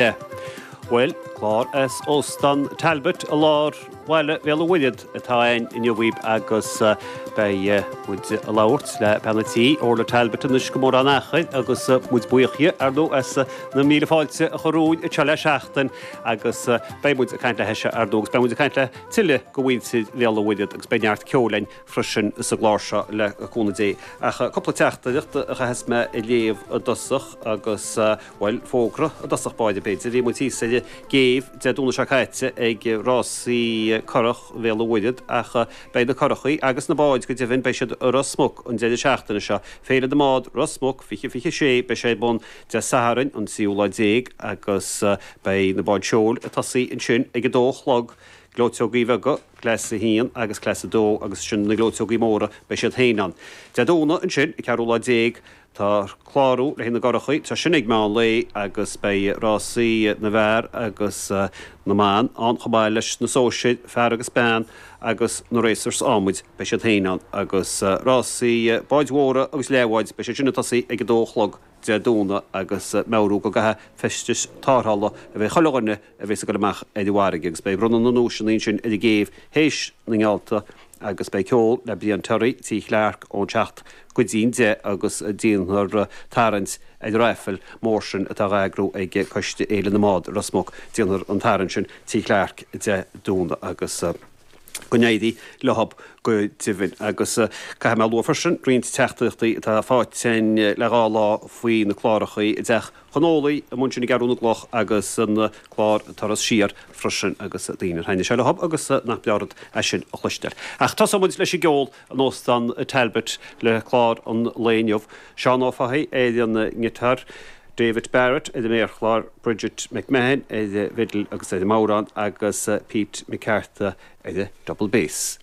Bhuel, clár as Óstán Talbot i lár bhaile Bhéal an Mhuirthead atá againn inniu dhaoibh agus beidh muid ag labhairt le bean an tí, Orla Talbot anois gan mórán achair agus muid buíoch dhi, ar ndóigh, as na míle fáilte a chur romhainn anseo le seachtain agus beidh muid ag caint léithise, ar ndóigh, agus beidh muid ag caint le tuilleadh de mhuintir Bhéal an Mhuirthead agus beidh neart ceoil againn freisin sa gclár seo le cúnamh Dé. Ach cúpla teachtaireacht a chaithfeas mé a léamh i dtosach agus, bhuel, fógra i dtosach báire b'fhéidir. Bhí muid thíos ar an gcéibh Dé Domhnaigh seo caite ag rásaí curach Bhéal an Mhuirthead ach beidh na curachaí agus na báid go deimhin, beidh siad i Ros Muc an deireadh seachtaine seo. Féile na mBád Ros Muc 2026, beidh sé ar bun Dé Sathairn an tríú lá déag agus beidh na báid seoil ag tosaí ansin ag a dó a chlog, gleoiteogaí beaga, Class 1 agus Class 2 agus ansin na gleoiteogaí móra, beidh siad féin ann. Dé Domhnaigh ansin, an ceathrú lá déag, tá clárú le haghaidh na gcurachaí, tá sin ag meán lae agus beidh rásaí na bhfear agus na mban ann chomh maith leis na sóisir, fear agus bean, agus na racers adhmaid, beidh siad féin ann agus rásaí báid mhóra agus leathbháid, beidh siad sin ag tosaí ag a dó a chlog Dé Domhnaigh agus meabhrú go gcaithfidh feistis tarrthála a bheith ag chuile dhuine a bheas ag dul amach ar an bhfarraige agus beidh bronnadh na nduaiseanna ansin ar an gcéibh théis na ngeallta agus beidh ceol le Brian Terry, Tí Chlarke ón seacht go dtí'n deich agus déanfar tarraingt ar an raifil mór sin atá á eagrú ag Coiste Fhéile na mBád i Ros Muc. Déanfar an tarraingt sin Tí Chlarke Dé Domhnaigh agus. Go n-éirí leothab go deimhin. Agus caithfidh mé a lua freisin roinnt teachtaireachtaí atá faighte againn le dhá lá faoi na clárachaí i dTeach Chonólaigh amuigh ansin i gCeathrú na gCloch agus an clár Turas Siar freisin agus daoine ar thaitnigh sé leothab agus nach breá rud é sin a chloisteáil. Ach tosóidh muid leis an gceol in Óstán Talbot le clár an lae inniu. Seán Ó Fathaigh ar an ngiotár, David Barrett ar an méarchlár, Bridget McMahon ar an bhfidil agus ar an mbodhrán agus Pete McCartha ar an double bass.